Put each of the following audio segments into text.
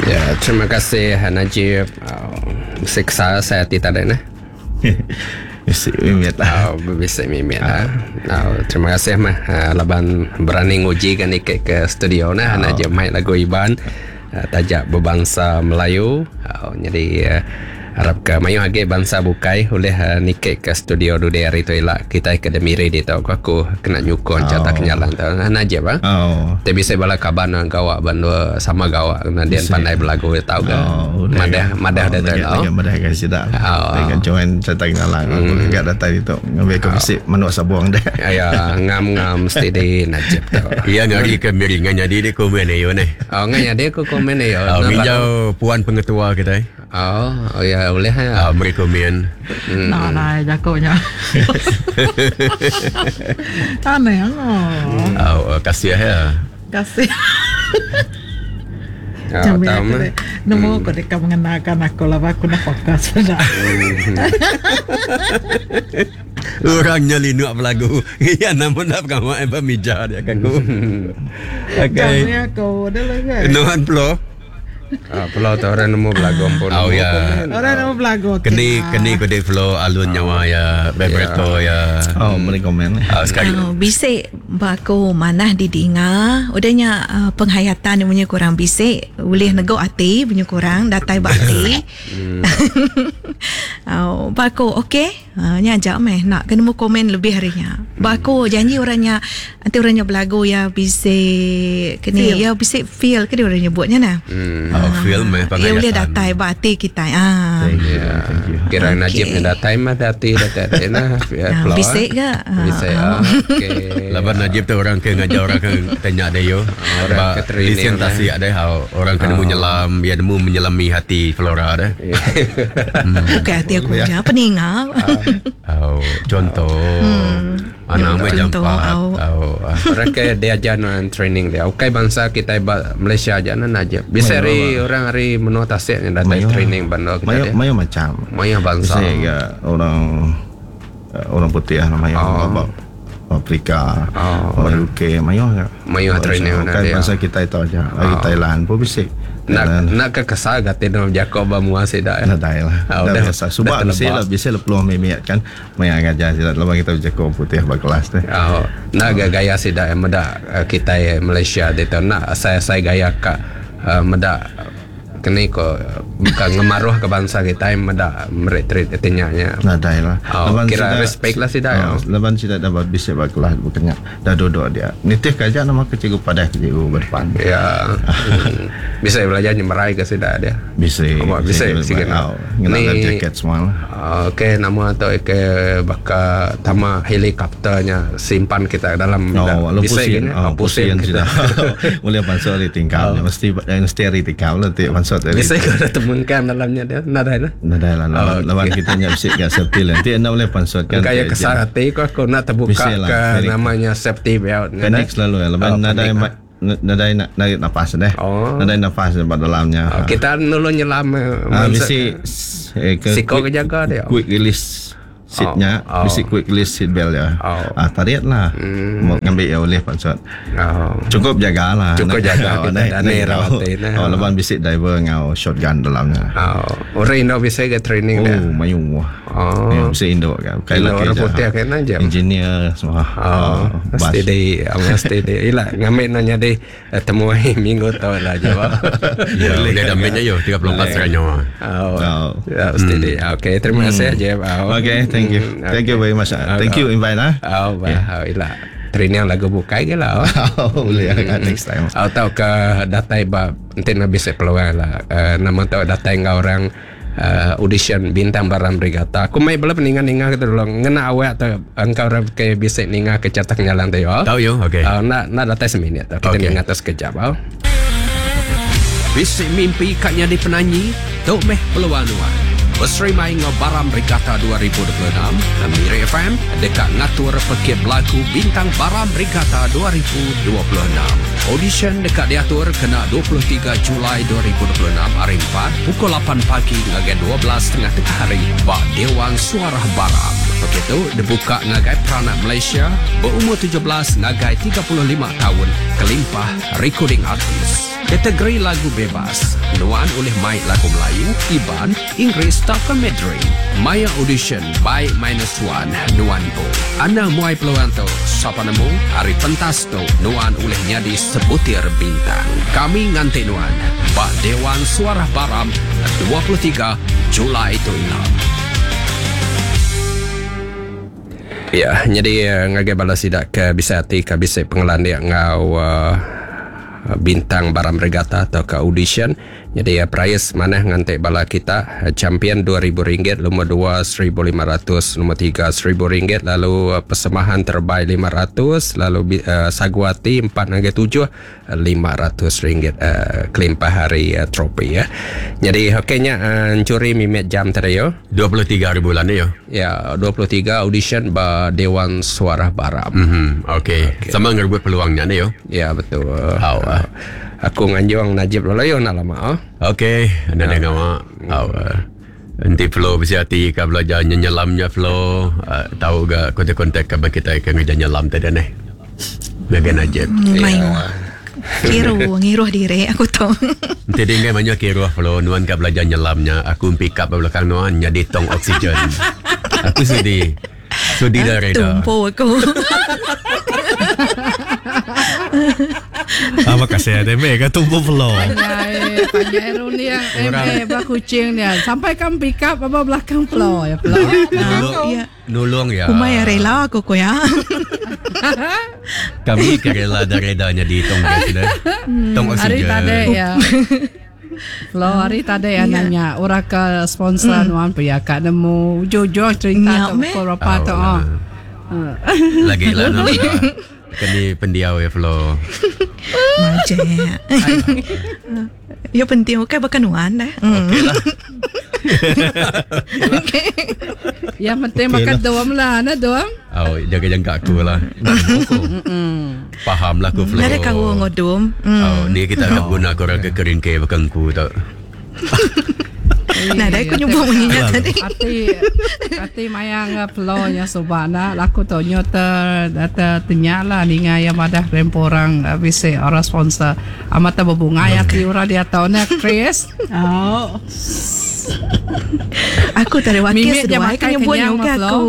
Ya, terima kasih Najib. Bisi kesal saya ati tadi neh. Bisi mimit lah. Oh, bisi mimit lah. Oh, terima kasih mah laban berani nguji kan niki ke studio nah oh. Najib mai lagu Iban taja bebangsa Melayu. Oh, jadi arap ke mayuh agi bansa bukai ulih niki ke studio dudi hari tu ila kitai ke Miri ditu ku aku kena nyukung chata kenyalang tu. Najib ah. Oh. Ti bisi bala kaban orang gawa ba endur sama gawa kena dian pandai belagu iya tau ga. Oh, Madah madah oh, dia tu lau. Madah ga sida. Oh. Ga join chata kenyalang aku ga datai ditu ngambi ke bisi manuk sabung deh. Aya ngam-ngam steady Najib tu. Iya ngari ke Miri ngan nyadi dia komen ayo neh. Oh ngan nyadi ku komen ayo. Oh, nginjau puan pengetua kitai. Oh, oh ya ulih ya. Oh, meri komen. Nah, nah, jaku nya. Aneh oh. Oh, kasih ya. Kasih. Oh, tahu mah. Nemu aku deka mengenalkan aku lah aku nak fokus dah. Orang nya linuk belagu. Iya namun dah pengawa ba mija dia kan ku. Okey. Kami aku dah lah. Nuan plo. Ah, pulau tu orang nemu belagu pun. Oh ya. Orang nemu belagu. Keni keni ko dek flow alun nyawa ya, vibrato ya. Oh, meri komen. Ah, sekali. Oh, bisik ba aku manah didinga. Udah nya uh, penghayatan dia punya kurang bisik, boleh neguk ati punya kurang datai ba ati. Oh, ba aku okey. Uh, nya aja meh nak kena nemu komen lebih hari nya. Ba aku janji orang nya Enti orang nya belagu iya bisi kini iya bisi feel ke dia orang nyebut nya nah. Hmm. Oh, feel meh Iya boleh datai ba ati kitai. Ah. Thank you. Thank you. Kira Okay. Najib ni datai mah ati datai ati nah. Ah, bisi ke? Ah, Bisi. ah. Okey. Laban Najib tu orang ke ngajar orang ke tanya dia yo. Orang Ba ke training lisen lah. tasik dia how orang ke nemu nyelam, dia nemu menyelami hati Flora dia. Bukan ati aku je, peninga. Oh, contoh. Anang meh Contoh, jampat. au. Oh. Orang ke dia ajar nuan training dia. Ukai bangsa kita ba Malaysia aja nan aja. Bisa hari orang hari menua tasik ni datang Mayuh. training bandar kita Mayo dia. mayo macam. Mayuh bangsa. Bisa ke orang orang putih lah mayo oh. Afrika, Oh. orang UK, mayo ke. Mayuh training Bukan dia. bangsa kita itu aja. Lagi Thailand pun bisa. Nak Thailand. nak ke kesal gati dalam Jacob ba mua sida. Dah dah lah. Oh, dah dah- biasa. Subak dah bisa terlebak. lah, bisa lah peluang mimiat kan. Maya ngajar sila lepas kita bercakap orang putih berkelas tu. Oh, nak ga gaya sida yang medak kita Malaysia dia tu nak saya saya gaya ka medak kini ko bukan ngemaruh ke bangsa kita yang medak merik treat atinya nya. Nah, dah lah. Oh, kira respect lah sida, ya. Oh, lepas sida dah bisa berkelas bukannya. Dah duduk dia. Nitih kerja nama ke cikgu padah ke cikgu berdepan. Ya. Bisa belajar nyemerai ke sida dia. Bisa. Oh, bisa, sikit nak. Oh, ngena Ni- life jacket semua lah. Okey, nama tu ke baka tama helikopternya simpan kita dalam Oh, lalu bisa pusing. gini. Oh, pusing kita. sudah. Boleh masuk dari tingkap. Mesti mesti dari tingkap lah tiap masuk dari. Bisa kau dah temukan dalamnya dia. Nadai lah. Nadai lah lawan, Oh, lawan kita nyak bisik kat safety lah. Nanti anda boleh pansut kan. Kaya kesal hati kau aku nak terbuka Bisa lah, ke panic. namanya safety belt. ni, Panik dah. selalu ya. Lepas Oh, nadai panik, ma- nadai nak narik nafas deh. Oh. Nadai nafas di dalamnya. Oh, kita nulu nyelam. Ah, bisi eh, ke Siko quick- ke jaga dia. Quick release seatnya, Oh, oh. bisi quick release seat belt ya. Oh. Ah, tarik lah. Mau ngambil ya boleh pansut. Oh. Cukup jaga lah. Cukup jaga kita, naik, dah naik ni tahu. rawat ni. Oh, lepas bisik diver ngau shotgun dalamnya. Oh, orang Indo bisa ke training Oh, dia. mayu. Oh. Ya, mesti Indo kan. Bukan Indo lelaki orang je. putih kan aja. Engineer semua. Oh, bas. mesti di, mesti di. Ila ngambil nanya di temui minggu tu lah jawab. Ya, boleh dah mainnya yo 34 seranyo. Oh, Oh. ya, mesti di. Okey, terima kasih Jeff. Oh. Okay, thank you. Hmm, Thank you very much. ah. Thank you invite ah. Oh, bah, oh, ila. Training lagu bukai ke lah. Oh, boleh ah, next time. Atau ke datai ba nanti nak bisa peluang lah. Nama tau datai ngau orang audition bintang Baram Brigata. Aku mai bela peningan-ninga kita dulu. Ngena awak atau engkau orang ke bisa ninga ke catak nyalang tu yo. Tahu yo, okey. Nak nak datai seminit. Kita Okey. ninga atas sekejap. Oh. Bisi mimpi kat nyadi penyanyi, tu meh peluang nuan. Berserimai ngau Baram Regatta 2026, Miri FM dekat ngatur pekit lagu Bintang Baram Regatta 2026. Audition dekat diatur kena 23 Julai 2026 hari 4 pukul 8 pagi hingga 12.30 tengah hari bak Dewan Suara Baram. Pekit tu dibuka ngagai peranak Malaysia beumur 17 ngagai 35 taun kelimpah recording artist. Kategori lagu bebas, nuan ulih mai lagu Melayu, Iban, Inggeris tauka Mandarin. Maya audition bai minus one nuan empu. Anang muai peluang tu, sapa nemu ari pentas tu nuan ulih nyadi sebutir bintang. Kami nganti nuan ba Dewan Suarah Baram 23 Julai tu ila. Ya, nyadi ngagai bala sida ke bisi ati ke bisi pengelandik enggau bintang Baram Regatta tauka audition. Nyadi perais manah nganti bala kita champion 2000 ringgit, lumur 2 1500, lumur 3 1000 ringgit lalu persembahan terbaik 500 lalu sagu ati 4 ngagai 7 500 ringgit kelimpah ari tropi ya. Nyadi okey nya encuri mimit jam tadi yo. 23 hari bulan ni yo. Ya, 23 audition ba Dewan Suarah Baram. Mhm. Okey. Okay. Sama ngerebut peluang nya ni yo. Ya, betul. Au. Aku nganjung Najib dulu yo nak lama oh. Okey, anda yeah. ngawa. Au. Enti Flo bisi ati ka belajar nyenyelam nya Flo, uh, tau ga kontak-kontak ka kita ke ngeja nyelam tadi neh. Ngagai Najib. Mayuh. Kiru ngiruh diri aku tu. Enti dia enggai mayuh kiruh Flo, nuan ka belajar nyelam nya, aku pick up ba belakang nuan nyadi tong oksigen. Aku sudi. Sudi dah reda. Tumpu aku. Ah, makasih ada me ka tumpu Flo. Panjai, panjai runding MA ba kucing dia. Sampai kam pick up ba belakang Flo ya Flo. Nulung, Ya. nulung ya. Kumai rela aku ko ya. Kami ke rela dah reda nyadi tong gas dah. Tong Hari oksigen. tadi ya. Flo hari tadi ya nanya orang ke sponsor nuan pia kak nemu ujung-ujung cerita Nya tu meh. pukul berapa tu Oh, oh. Lagi lah nama. Kini pendiau ya Flo. Majek. Ya penting okey bukan nuan dah. Hmm. Okey lah. Okey. Yang penting makan doam lah, nah doam. Oh, jaga jangka aku lah. Faham lah aku Flo. Nada kau ngodum. Hmm. Oh, ni kita akan guna korang ke keringke bukan ku tak. Nah, dah aku nyebut bunyinya tadi. Ati ati mayang Flo nya subana laku tu nyo ter ter tenyala ninga yang madah remporang bisi orang sponsor amat berbunga ya ti orang dia tahu nak Chris. Oh. Aku tak ada wakil Mimik dia seduai makan kan nyebut kenyang, ke Flo. aku.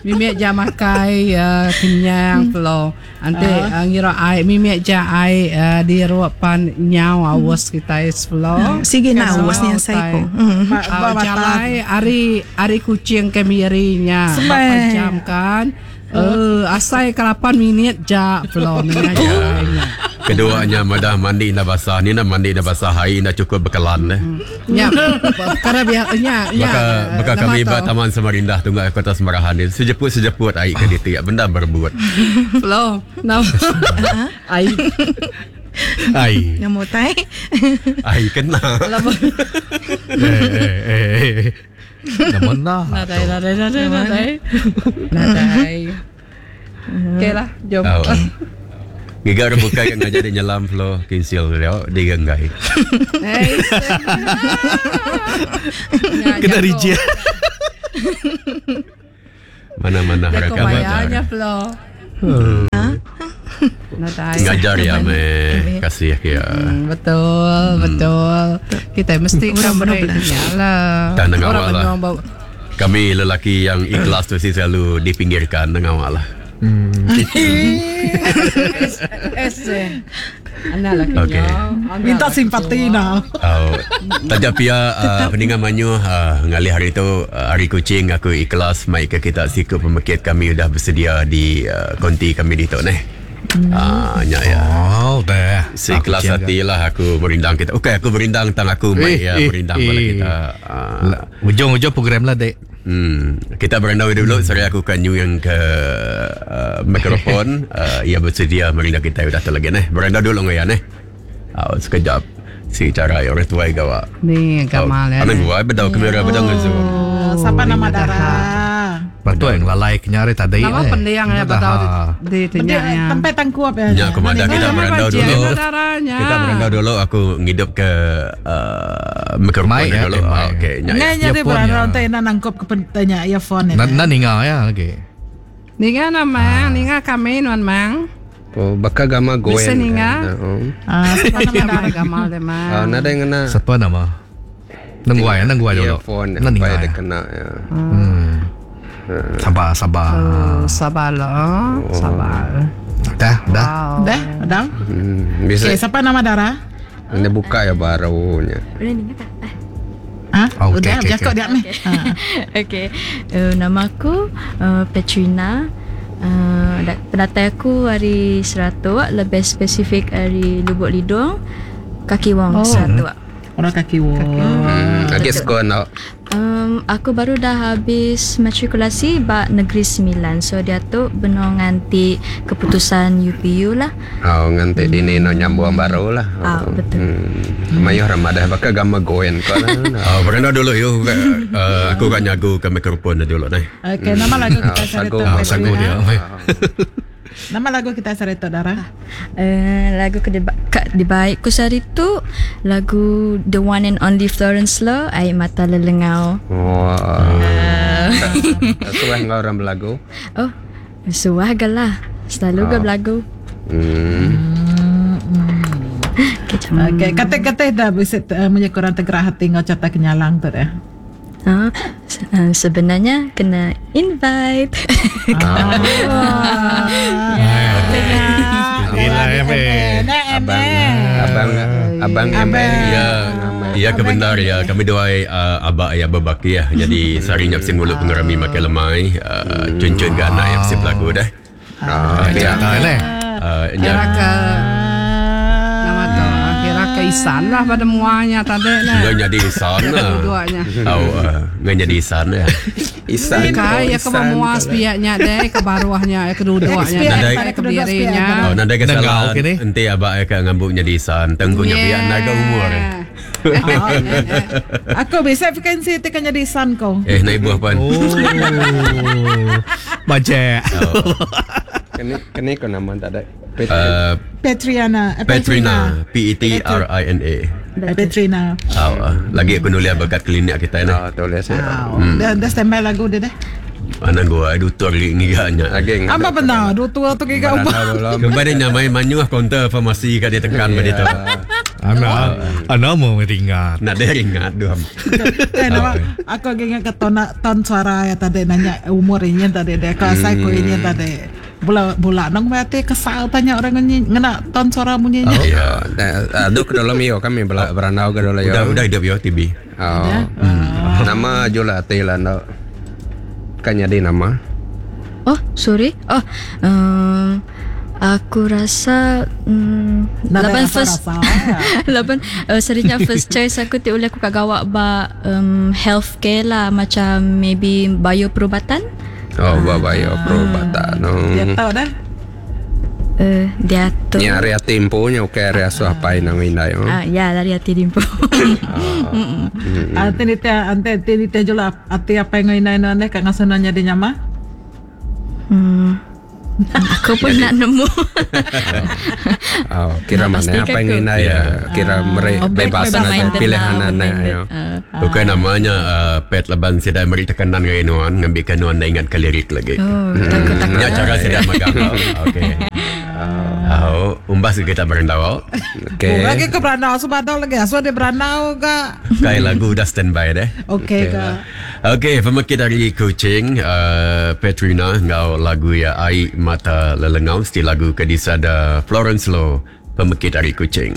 Mimik ja makai kenyang Flo. Ante ngira ai mimik ja ai di ruapan nyau awas kita is Flo. Sige na awas niya sa ko. Hmm. Jalai ari ari kucing ke mirinya. Semai. Berapa jam kan? Asai ke 8 minit ja Flo ni jalainya. Keduanya madah mandi dah basah. Ni nak mandi dah basah hari dah cukup bekalan eh. Ya, perkara biar nya nya. Maka maka nama kami tu. ba Taman Samarinda tunggu Kota Semarahan ni sejeput-sejeput air ke ditu ya benda berebut. Flo. Nama. Ai. Ai. Nama tai. Ai kena. Eh eh eh. eh. Nama lah. Nadai nadai nadai nadai. Nadai. Okey lah, jom. Oh. Giga orang bukai yang ngajar dia nyelam Flo kinsil dia dia genggai. Hey. Kena reject. Mana-mana Jago mereka bayarnya belajar. Flo. Nadai. Ngajar ya me kasih ya. Betul, betul. Kita mesti Orang beri benar. lah. Tak nak Orang awal lah. benar bau- Kami lelaki yang ikhlas tu sih selalu dipinggirkan dengan awak lah. Es. eh. Anak laki Okey. Minta simpati nah. Oh, tajak pia peningan manyu ngalih hari tu hari kucing aku ikhlas mai ke kita siku pemekit kami dah bersedia di konti kami di tu neh. Ah, nya ya. Oh, dah. Seikhlas hati lah aku merindang kita. Okey, aku merindang tang aku mai Eh, ya eh, merindang pada eh. kita. Ah, Ujung-ujung program lah, dek. Kita berandau dulu Sorry aku kan new yang ke mikrofon. Ia bersedia merindang kita dah tu lagi neh. Berandau dulu dengan ya neh. Sekejap. Si cara orang tua gawak. Ni gamal ya. Anak gua bedau kamera bedau ngezoom. Siapa nama darah? Patut ngelalai ke nya ari tadi. Nama pending ya bedau di tanya ya. Sampai tangkup ya. Nya aku madah kita berandau dulu. Kita berandau dulu aku ngidup ke mikrofon ya, dulu. Okey nya. Nya jadi berandau ente enda nangkup ke tanya earphone nya. Enda ninga ya lagi. Ninga nama ninga kami nuan mang. Oh baka gama goen. Bisi ninga. Ah nama gamal dia mang. Nadai ngena. Sapa nama? Nengguai, nengguai dulu. Earphone sampai dia kena ya. Hmm. Sabar, sabar. Oh, sabar lah. Oh. Sabar. Dah, dah. Wow. Dah, dah. Bisa. Okay, siapa nama Dara? Ini buka ya barunya. Udah ninga tak? Ah, Oh, okey, udah, okey, jakok okey. dia meh. Ha. Okey. Nama aku Petrina. Penatai aku dari Seratok, lebih spesifik dari Lubuk Lidong, Kaki Wong, Oh. Seratok. Orang kaki wong. Lagi sekolah nak. Aku baru dah habis matrikulasi bak Negeri Sembilan. So dia tu benar nganti keputusan UPU lah. Oh, nganti dini no nyambung baru lah. Ah, betul. Mayuh ramadah baka gama goen ko lah. Oh, berandau dulu yo. Aku kat nyagu ke mikrofon dulu nai. Okey, nama lagu kita Ah, Sarito. sagu. Ah, sagu dia. Nama lagu kita Sarito Dara. Lagu ke dibaik ku sehari tu lagu The One and Only Florence Lo, Air Mata Lelengau. Wah. Suah ngau orang berlagu. Oh, suah gelah. Selalu ge berlagu. Okay, Okey, kata-kata dah bisa punya kurang tergerak hati ngau cata kenyalang tu dah. Sebenarnya kena invite. Gila ya, Abang abang abang MA. Ya, ya kebenar ya. Kami dua abak ya berbaki ya. Jadi sehari nyap sing mulut pengerami makan lemai. Cuncun ke anak yang mesti berlagu dah. Ah, ya. Cerita leh. Kira ke nama tu kira ke isan lah pada muanya tadi lah. Nggak jadi isan lah. Dua-duanya. Oh, nggak jadi isan ya. Isan. Kai ya ke bawah sepiaknya deh ke baruahnya ya kedua-duanya Nadai- ke dirinya. Oh, nadai Nengau kesalahan. kini. Enti abak ya ke ngambuk jadi isan. Tengkunya biar naga umur. Aku bisa frekuensi tu kan jadi isan kau. Eh, naik buah pan. Oh. Baca. Kini kini ko nama tak ada. Petriana, Petrina, P E T R I N A. Petrina. Oh, lagi aku nulis berkat klinik kita ni. Ah, tulis ya. Dah dah standby lagu dia dah. Mana gua dutur lagi ngiganya. Lagi Apa benar? Dua tua tu giga ubah. Kembali nyamai manyuh kaunter farmasi kat dia tekan pada tu. Ana ana mau ringat. Nak dia ingat dua. Kan nama aku lagi ingat ke ton ton suara ya tadi nanya umur ini tadi dia kelas aku ini tadi. Bola bola nang berarti kesal tanya orang ngena ton suara bunyinya. Ya, aduh ke dalam yo kami berandau ke dalam yo. Udah udah hidup yo TB. Oh. Nama Jula Ati lah no. Kan jadi nama. Oh, sorry. Oh, aku rasa Nadai laban first rasa-rasa. laban serinya first choice aku ti oleh aku kat gawak ba healthcare lah macam maybe bio perubatan. Oh, babayo perubatan. Dia tahu dah. Dia tu. Ni area temponya okey area suapai nang indai. Ah, ya dari hati dimpo. Ante ni teh ante ni teh jula ati apa yang ngoi nai kat ngasana jadi nyama. Aku pun nak nemu. Oh, kira Nak mana pastikan apa yang aku. indai Ya. kira mere bebas Open nak minded pilihan lah, anak open-minded. yo. Bukan namanya pet laban sedai meri tekanan dengan nuan ngambil ke nuan dah ingat ke lirik lagi. Oh, takut-takut. Ya cara sedai magang. Okey. Oh, umbas kita berandau. Okey. Lagi ke beranau sebab lagi. Aso dia beranau ga. Kai lagu dah standby deh. Okey ga. Okey, pemakit dari Kuching, Petrina ngau lagu ya Ai Mata Lelengau, stil lagu ke disada Florence Lo, pemakit dari Kuching.